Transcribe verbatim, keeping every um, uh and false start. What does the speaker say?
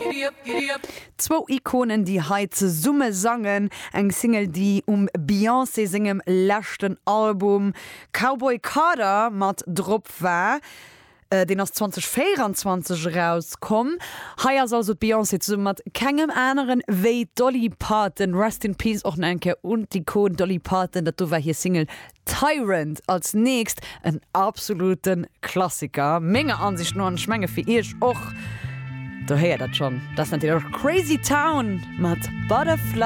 Giddy up, giddy up. Zwou Ikonen, déi hei zesumme sangen, eng Single, déi um Beyoncé sengem leschten Album Cowboy Carter mat drop war. Äh, deen ass zweedausendvéieranzwanzeg erauskomm. Hei ass also d'Beyoncé zesumme mat kengem aneren wéi Dolly Parton. Rest in Peace och nach eng Kéier un d'Ikon Dolly Parton. Dat do war hir Single Tyrant. Als nächst en absolute Klassiker, menger Ansicht no, an ech menge fir iech och. Do héiert dat schonn. Dat ass natierlech Crazy Town mat Butterfly.